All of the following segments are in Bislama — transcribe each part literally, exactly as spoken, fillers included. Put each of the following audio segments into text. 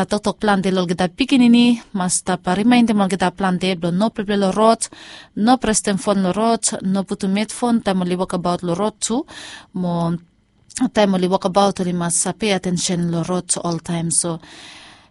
toktok plante long olgeta pikinini, mas stap rimaindem olgeta plante blong no pleple long rod, no prestem fon long rod, no putum hedfon taem oli wokabaot long rod tu, mo taem oli wokabaot oli mas pei atensen long rod oltaem. So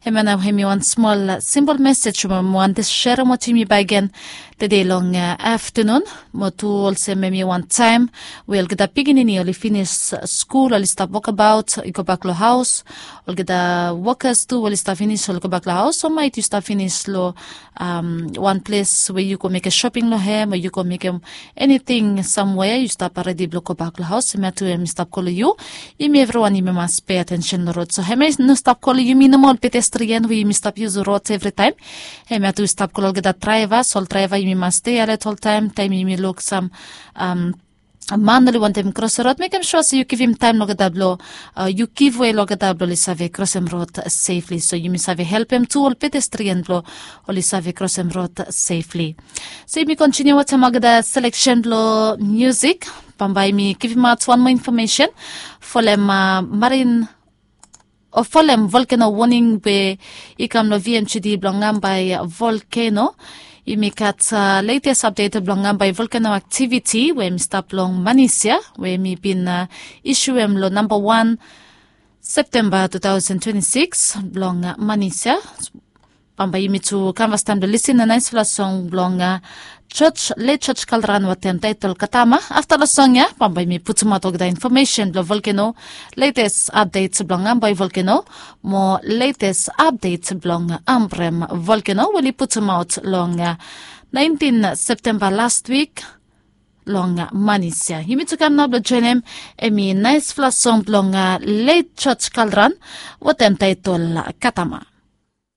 hemia nao hemi wan smol simpol mesej we mi wantem serem wetem yumi bakegen tede long aftanun. Mo tu olsem hemi wan taem we olgeta pikinini oli finis skul, oli stap wokabaot i gobak long haos, olgeta wokas tu oli stap finis oli gobak long haos, o maet yu stap finis long wan ples we yu go mekem shoping long hem o yu go mekem eniting samwea, yu stap redi blong gobak long haos. Hemia tu hemi stap go long yu. Yumi evriwan yumi mas pei atensen long rod. So hemia i no stap go long yumi nomo ol pedestrian we yumi stap yusum rod evritaem. Hemia tu i stap go long olgeta draevas, ol draeva yumi mas stei alet oltaem taem yumi luk sam man oli wantem krosim rod, mekem sua se yu givim taem long olgeta blong yu givwe long olgeta blong oli save krosim rod sefli. So yumi save helpem tu ol pedestrian blong oli save krosim rod sefli. So yumi kontiniu wetem olgeta seleksen blong musik. Bambae yumi givimaot wan moa infomesen folem marin o folem volkeno woning we i kam long vmgd blong Ngambai volkeno. Yumi gat letes apdet blong Ngambai volkeno aktiviti we hemi stap long Manisia we hemi bin isuem long namba wan Septemba tu taosen twenti sikis blong Manisia. Bambae yumi tu kam fastaem blong lisin long naesfala song blong Jos, let Jos Kalran wetem taetol Katama. Afta long song ya bambae yumi putumaot olgeta infomesen blong volkeno, letes apdet blong Ngambai volkeno mo letes apdet blong Ambrem volkeno we oli putumaot long naentin Septemba las wik long Manisia. Yumi tu kam nao blong joenem hemi naesfala song blong let Jos Kalran wetem taetol Katama.